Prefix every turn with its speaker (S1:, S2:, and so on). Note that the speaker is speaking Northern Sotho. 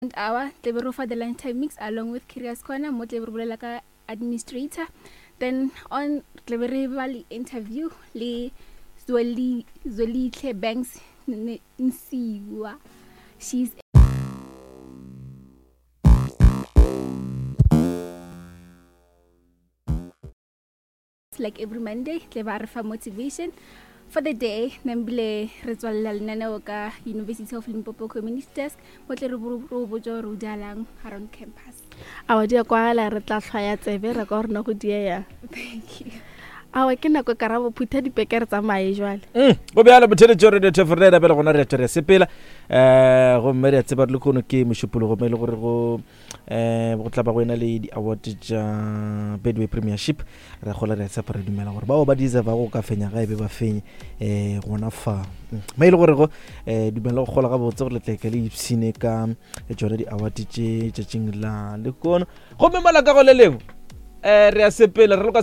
S1: Hour tle be re fa the lunchtime mix along with Curious Corner mo tle be re bolela ka administrator then on tle be re ba le interview le Zweli Zwelihle Banks Nsiwa she's like every Monday tle ba re fa motivation for the day nambile re tswalela lenaneo ka University of Limpopo Community Desk mo tle re bo botsa gore o dialang around campus.
S2: Awa di a kwagala re tla hlwaya tsebe ra kwa rena go dieya.
S1: Thank you.
S2: Awa ke nako karabo phutha dipeke re tsamaye jwale.
S3: Mm, go bjalo botheletšo radio tefo re bjale gona re a tšwa re a sepela um gomme re a tseba re le kono ke mošupologo mo e le gore go um go tla ba go ena le di-award tša bedway premiership re gola re a tshepa re dumela gore bao ba deserva go ka fenya ga e be ba fenye um gona fa mm. ma e le gore go um dumela go gola gabotse gore letleke le ipshine ka tšona di-award tše tšatšing la lekono gomme mola ka go le lengwe um re a sepela re loka.